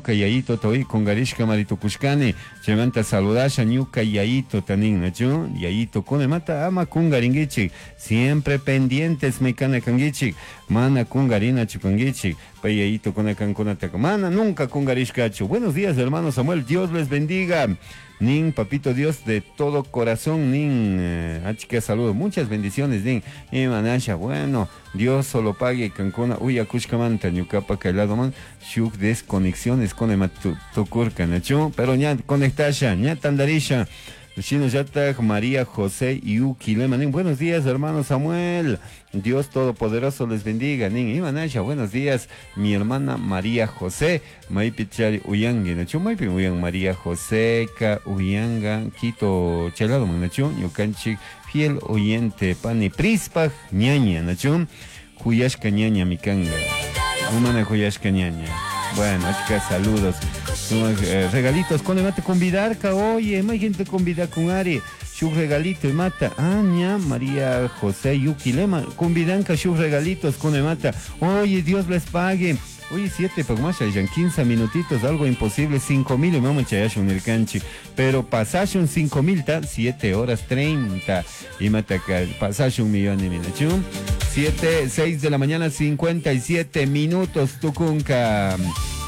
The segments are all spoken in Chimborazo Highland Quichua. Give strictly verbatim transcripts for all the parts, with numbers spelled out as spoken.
Ñuka yayito hoy kungarishka maritukushkani. Chaymanta saludasha ñuka yayito tanin, nachu? Yayito mata ama kungarinkichik. Siempre pendientes mi kana kankichik. Mana kungarinachu kankichik. Pay yayito kuna kankunataka. Mana nunca kungarishkachu. Buenos días, hermano Samuel. Dios les bendiga. Nin, papito Dios de todo corazón, nin, eh, achka saludos, muchas bendiciones, nin, y manasha, bueno, Dios solo pague, kankuna, uyakushkamanta, ñukapa man, shuk desconexiones con ema tukurka, nachu, pero ña conectasha, ña tandarisha, Shinallatak María José Yuquilema, nin, buenos días, hermano Samuel. Dios Todopoderoso les bendiga. Nin, Imanasha, buenos días, mi hermana María José. Maipi chari uyangi, nachu, maipi uyan María José, ka uyanga, Quito, chalado, nachu, ñukanchik, fiel oyente, pani prispaj, ñaña, nachu, juyashka ñaña mikanga. Umana juyashka ñaña. Bueno, achka saludos. Eh, regalitos, con mate convidarka, oye, hay gente convida con Ari. Shuk regalito y mata. Aña, María José Yuquilema, convidanka shuk regalitos con mata. Oye, Dios les pague. Oye, siete, más ya quince minutitos, algo imposible, cinco mil y mama chayashun el canchi. Pero pasashun cinco mil, ta, siete horas treinta. Y mata pasashun millón y minachu. Siete, seis de la mañana, cincuenta y siete minutos, tukunka.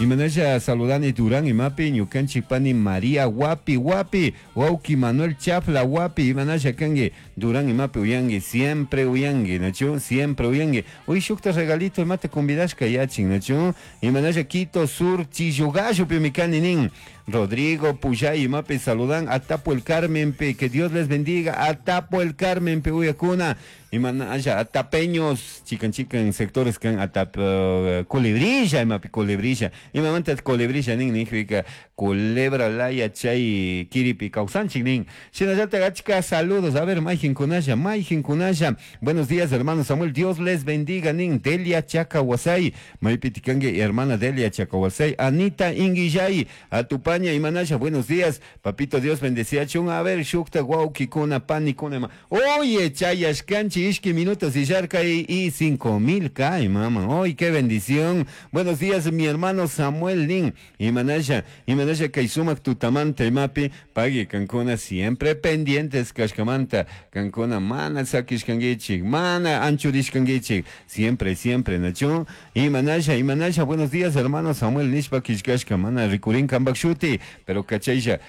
Y manasha saludani Durán y mapi, ñukanchi pani María Guapi Guapi, Wauki Manuel Chafla Guapi, y manasha kangi, Durán y mapi uyangi, siempre uyangi, nachu, siempre uyangi. Uy, shukta regalito y mate convidashka yachin, nachu. Y manasha Quito Sur, Chillugallo, pimicani nin. Rodrigo Puyay y Mape saludan a Tapo el Carmen, pe, que Dios les bendiga, a Tapo el Carmen, pe, uyacuna, y manaya, a Tapeños, chican chican sectores can, a Tap, uh, Culebrilla, y Mape Culebrilla, y mamanta Culebrilla, nin, nin, culebra laya, chay, kiripi, causanchi, nin, shinallata gachka, saludos, a ver, Maijin Kunaya, Maijin Kunaya, buenos días, hermano Samuel, Dios les bendiga, nin, Delia Chacahuasay, Maipiticangue, hermana Delia Chacahuasay, Anita Inguillay, a Tupaña y Manasha, buenos días, papito Dios bendecía chun, a ver, shukta, guauki, kuna, pani, kuna, oye, chayash, canchi, ishki, minutos y yarca y, y cinco mil cae, mamá, oye, qué bendición, buenos días, mi hermano Samuel Nin, y Manasha, y Manasha, kaisumak, tutamante, mapi, pague, cancuna, siempre pendientes, kashkamanta, cancuna, mana, sakishkangichik, mana, anchurishkangichik, siempre, siempre, nachu, y Manasha, y Manasha, buenos días, hermano Samuel Nishpa, kishkashka, mana, rikurin, kambak, pero cachaylla,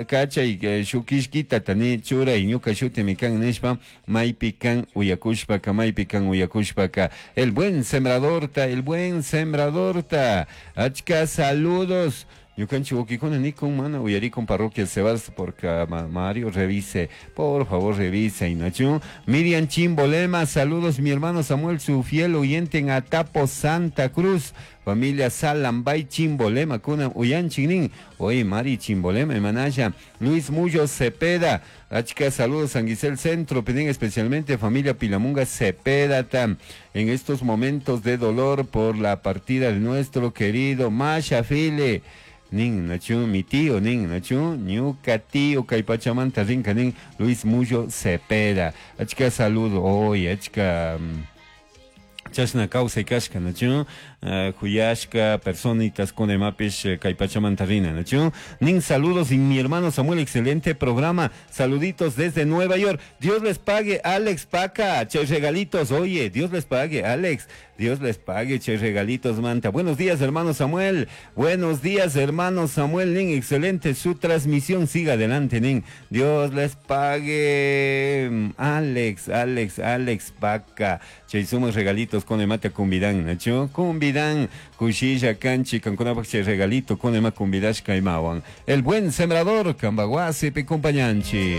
cachay, shukishkita, tani, chura, y ñuka shuti, mikan, nishpa, maypi kan, uyakushpaka, maypi kan, uyakushpaka, el buen sembrador ta, el buen sembrador ta, achka, saludos. Ñukanchik wawkikuna nikun mana uyarikun parroquia Sebas porque Mario revise, por favor revise, Inachu. Miriam Chimbolema, saludos mi hermano Samuel, su fiel oyente en Atapo, Santa Cruz. Familia Salambay Chimbolema, kuna uyanchinin. Oye, Mari Chimbolema, Manaya. Luis Mullo Cepeda, achka, saludos San Guisel Centro, piden especialmente familia Pilamunga Cepeda, tam, en estos momentos de dolor por la partida de nuestro querido Masha File. Nin, nachu, mi tío, nin, nachu, ñuka tío, kaypachamanta rinka, nin, Luis Mullo Cepeda. Achka, saludo, oye, achka, chashna kawsay kashka, nachu, juyashka, personitas con emapish, kaypachamanta rina, nachu. Nin, saludos y mi hermano Samuel, excelente programa, saluditos desde Nueva York. Dios les pague, Alex Paca, che regalitos, oye, Dios les pague, Alex, Dios les pague, che regalitos, manta. Buenos días, hermano Samuel, buenos días, hermano Samuel, nin, excelente su transmisión, siga adelante, nin. Dios les pague, Alex, Alex, Alex Paca, che somos regalitos con emate cumbidan, nachu, cumbidan, cuchilla, canchi, cancunapac, che regalito, con ema cumbidash, caimawan. El buen sembrador, cambaguasi, picumpañanchi.